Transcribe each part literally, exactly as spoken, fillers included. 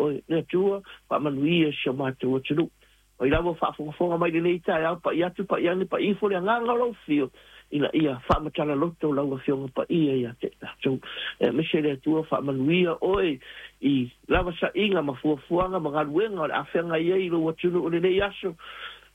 oe. Le Atua, faamanuia si o matou atunuu. O i lava faafogafoga mai lenei taeao, pa'i atu pa'i ane pa'i ifo le agaga o lau afio, ina ia faamatala loto lau afioga paia ia te tatou. E aemaise le Atua faamanuia oe i lava sa'iga ma fuafuaga ma galuega o le afeaga ai i lou atunuu lenei aso.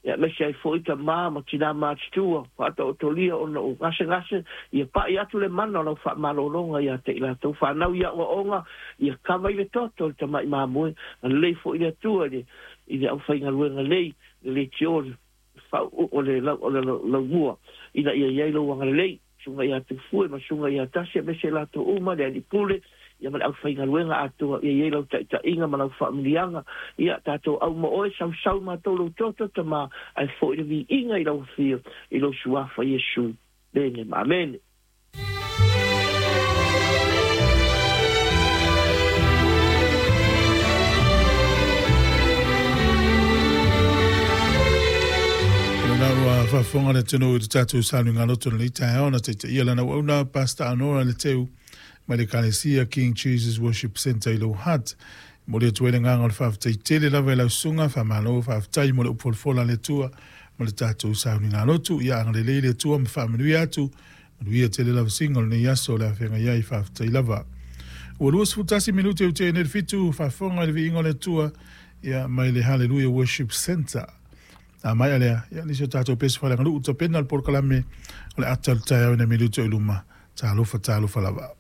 Ia aemaise ai fo'i tamā ma tinā matutua faataotolia ona o gasegase, ia pa'i atu le mana o lau faamalologa ia te i latou fanau ia oaoga, ia kava i le toto le tama'i mamoe. Lelei fo'i le Atua i le i le aufaigaluega lei le leitio o le lau o le laumua ina ia iai lou agalelei suga ia Tufue ma suga ia Tasi aemaise latou uma le alii pule ia ma le aufaigaluega atoa ia iai lau taita'iga ma lau faamuliaga. Ia tatou auma oe sausau matou lou toto tamā ae fo'i le viiga i lau afio i lou suafa Iesu. Mene ma amene. Lana ua faafofoga le atunuu i le tatou sauniga loto lenei taeao na taitaia lana auauna Pastor Anora le Teu mai le Ekalesia King Jesus Worship Center i Lower Hutt. Momoli atu ai le agaga o le faafetai tele lava i lau susuga, faamalo faafetai mo le upu folafola a le Atua ma le tatou sauniga lotu. Ia agalelei le Atua ma faamanuia atu, manuia tele lava siga o lenei aso o le afeagai ai, faafetai lava. Ua luasefulu tasi minute ua tea nei le fitu, faafofoga i le viiga o le Atua ia mai le Hallelujah Worship Center. A mai alea, ia nisi o tatou pese faaleaganuu tapena le polokalame o le ata o le taeao i nai minute o i luma. Talofa, talofa lava.